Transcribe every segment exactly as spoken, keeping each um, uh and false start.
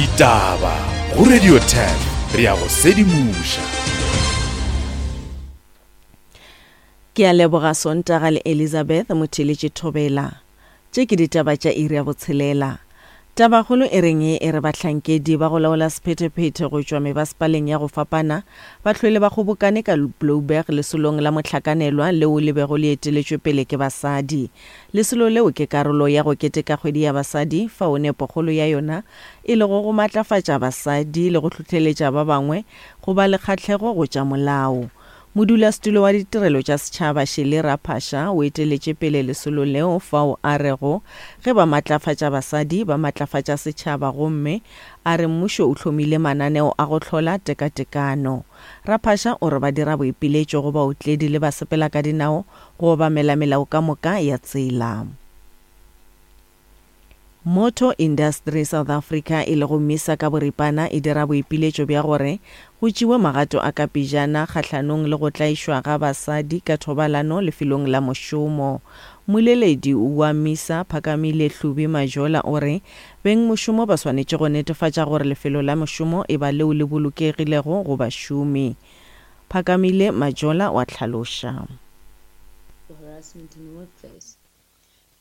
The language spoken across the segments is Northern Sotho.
Ditaba go Radio ten re ya go sedimoša. Ke a leboga Sontaga le Elizabeth Motheletše Thobela. Tše ke ditaba tša iri ya botshelela. Tabakgolo e reng e re bahlankedi ba go laola sephethephethe go tšwa mebasepaleng ya go fapana ba hlwele ba kgobokane ka Blouberg lesolong la mohlakanelwa leo le bego le eteletšwe pele ke basadi. Lesolo leo ke karolo ya go keteka kgwedi ya basadi fao nepokgolo ya yona e lego go matlafatša basadi le go hlohleletša ba bangwe go ba le kgahlego go tša molao. Modulasetulo wa ditirelo tša setšhaba Shirley Raphasha o eteletše pele lesolo leo fao a rego ge ba matlafatša basadi ba matlafatša setšhaba gomme a re mmušo o hlomile mananeo a go hlola tekatekano. Raphasha o re ba dira boipiletšo go baotledi le basepela ka dinao go obamela melao ka moka ya tsela. Motor Industry South Africa e lego MISA ka boripana e dira boipiletšo bja gore go tšewe magato a ka pejana kgahlanong le go tlaišwa ga basadi ka thobalano lefelong la mošomo. Mmoleledi wa MISA Phakamile Hlubi Majola o re bengmošomo ba swanetše go netefatša gore lefelo la mošomo e ba leo le bolokegilego go bašomi. Phakamile Majola wa hlaloša. Harassment in the workplace.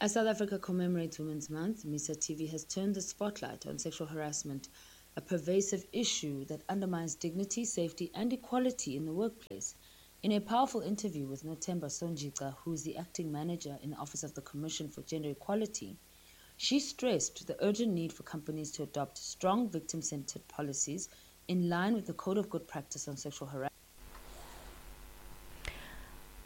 As South Africa commemorates Women's Month, MISA T V has turned the spotlight on sexual harassment, a pervasive issue that undermines dignity, safety, and equality in the workplace. In a powerful interview with Nothemba Sonjica, who is the acting manager in the Office of the Commission for Gender Equality, she stressed the urgent need for companies to adopt strong victim-centered policies in line with the Code of Good Practice on Sexual Harassment.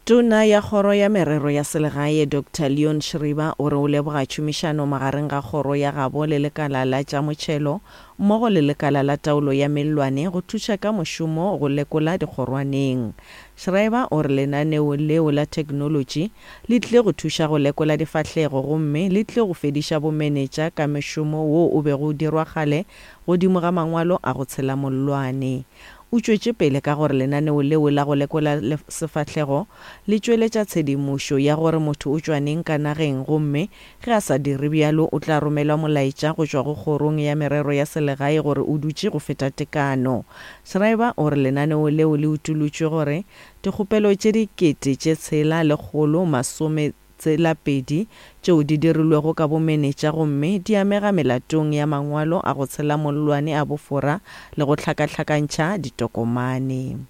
Tona ya kgoro ya merero ya selegae Doctor Leon Schreiber o re o leboga tšhomišano magareng ga kgoro ya gabo le lekala la tša motšhelo mmogo le lekala la taolo ya mellwane go thuša ka mošomo go lekola dikgorwaneng. Schreiber o re lenaneo leo la theknolotši le tlile go thuša go lekola difahlego gomme le tlile go fediša bomenetša ka mešomo wo o bego o dirwa kgale godimo ga mangwalo a go tshela mollwane. O tšwetše pele ka gore lenaneo leo la go lekola sefahlego le tšweletša tshedimošo ya gore motho o tšwa neng ka nageng gomme ge a sa dire bjalo o tla romelwa molaetša go tšwa go kgorong ya merero ya selegae gore o dutše go feta tekano. Schreiber o re lenaneo leo le utolotšwe gore dikgopelo tše dikete tše tshela lekgolo masome tsela pedi tšeo di dirilwego ka bomenetša gomme di amega melatong ya mangwalo a go tshela mollwane a bofora le go hlakahlakantšha ditokomane.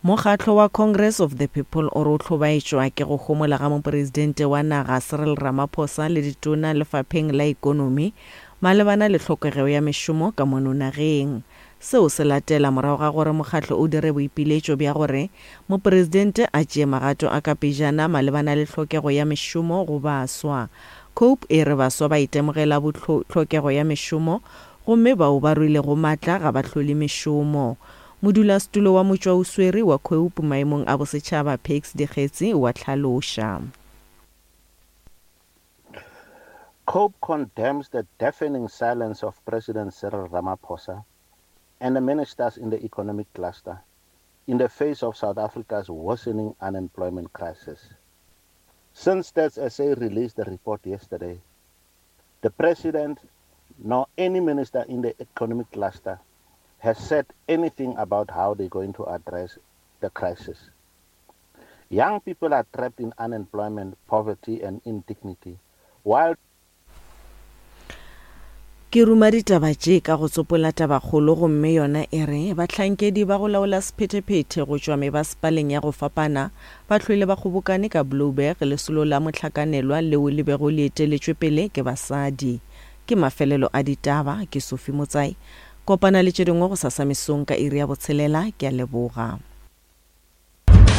Mokgatlo wa Congress of the People o re o hlobaetšwa ke go homola ga mopresidente wa naga Cyril Ramaphosa le ditona lefapheng la ikonomi malebana le tlhokego ya mešomo ka mono nageng. Seo se latela morago ga gore mokgatlo o dire boipiletšo bja gore mopresidente a tšee magato a ka pejana malebana le tlhokego ya mešomo go baswa. COPE e re baswa ba itemogela tlhokego ya mešomo gomme bao ba ruilego maatla ga ba hlole mešomo. Modulasetulo wa motšwaoswere wa COPE maemong a bosetšhaba Pakes Dikgetsi wa hlaloša. COPE condemns the deafening silence of President Cyril Ramaphosa and the ministers in the economic cluster in the face of South Africa's worsening unemployment crisis. Since Stats S A released the report yesterday, the president nor any minister in the economic cluster has said anything about how they're going to address the crisis. Young people are trapped in unemployment, poverty, and indignity, while Ke ruma ditaba tše ka go tsopola tabakgolo gomme yona e re bahlankedi ba go laola sephethephethe go tšwa mebasepaleng ya go fapana ba hlwele ba kgobokane ka Blouberg lesolo la mohlakanelwa leo le bego le eteletšwe pele ke basadi. Ke mafelelo a ditaba, ke Sophie Motsai. Kopana le tše dingwe go sasa mesong ka iri ya botshelela, ke a leboga.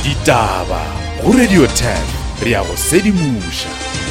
Ditaba go Radio ten, re ya go sedimoša.